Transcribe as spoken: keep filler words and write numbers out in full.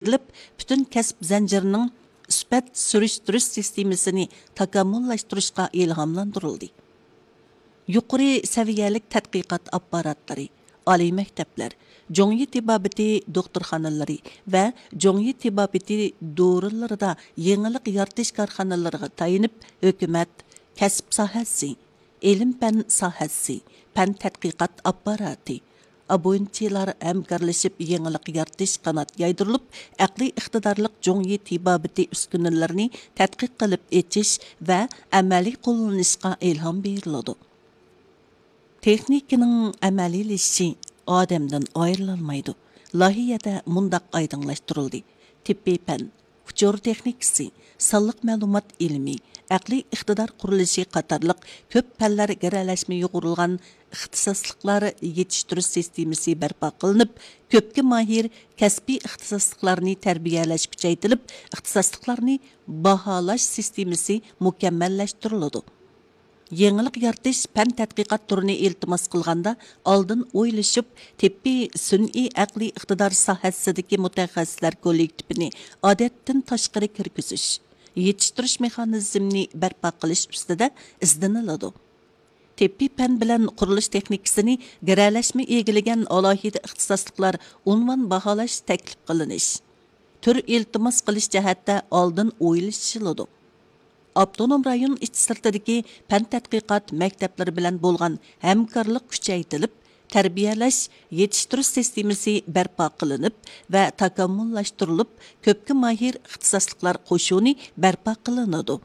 ئېلىپ، پۈتۈن كەسىپ زەنجىرىنىڭ سۈپەت سۈرۈشتۈرۈش سىستېمىسىنى تاكامۇللاشتۇرۇشقا ئىلھاملاندۇرۇلدى. يۇقىرى سەۋىيەلىك تەتقىقات ئاپپاراتلىرى، ئالىي مەكتەپلەر، جۇڭيى تېبابىتى دوختۇرخانىلىرى ۋە جۇڭيى تېبابىتى دورىلىرىدا يېڭىلىق يارىتىش كارخانىلىرىغا تايىنىپ، ھۆكۈمەت، كەسىپ ساھەسى، ئىلىم-پەن ساھەسى، پەن تەتقىقات ئاپپاراتى، ئابۇنىچىلار ھەمكارلىشىپ يېڭىلىق يارىتىش قانات يايدۇرۇلۇپ، ئەقلىي ئىقتىدارلىق جۇڭيى تېبابىتى ئۈسكۈنىلىرىنى تەتقىق قىلىپ ئېچىش ۋە ئەمەلىي قوللىنىشقا ئىلھام بېرىلىدۇ. تېخنىكىنىڭ ئەمەلىيلىشىشى ئادەمدىن ئايرىلالمايدۇ. لايىھەدە مۇنداق ئايدىڭلاشتۇرۇلدى: تېببىي پەن، ئۇچۇر تېخنىكىسى، سانلىق مەلۇمات ئىلمى، ئەقلىي ئىقتىدار قۇرۇلۇشى قاتارلىق كۆپ پەنلەر گىرەلەشمە يۇغۇرۇلغان ئىختىساسلىقلار يېتىشتۈرۈش سىستېمىسى بەرپا قىلىنىپ، كۆپكە ماھىر كەسپىي ئىختىساسلىقلارنى تەربىيەلەش كۈچەيتىلىپ، ئىختىساسلىقلارنى باھالاش سىستېمىسى مۇكەممەللەشتۈرۈلىدۇ. يېڭىلىق يارىتىش پەن تەتقىقات تۈرىنى ئىلتىماس قىلغاندا، ئالدىن ئويلىشىپ، تېببىي سۈنئىي ئەقلىي ئىقتىدار ساھەسىدىكى مۇتەخەسسىسلەر كوللېكتىپىنى ئادەتتىن تاشقىرى كىرگۈزۈش، يېتىشتۈرۈش مېخانىزمىنى بەرپا قىلىش ئۈستىدە ئىزدىنىلىدۇ. تېببىي پەن بىلەن قۇرۇلۇش تېخنىكىسىنى گىرەلەشمە ئىگىلىگەن ئالاھىدە ئىختىساسلىقلار ئۇنۋان باھالاش تەكلىپ قىلىنىش، تۈر ئىلتىماس قىلىش جەھەتتە ئالدىن ئويلىشىلىدۇ. ئاپتونوم رايون ئىچى سىرتىدىكى پەن تەتقىقات مەكتەپلىرى بىلەن بولغان ھەمكارلىق كۈچەيتىلىپ، تەربىيەلەش، يېتىشتۈرۈش سىستېمىسى بەرپا قىلىنىپ ۋە تاكامۇللاشتۇرۇلۇپ، كۆپكە ماھىر ئىختىساسلىقلار قوشۇنى بەرپا قىلىنىدۇ.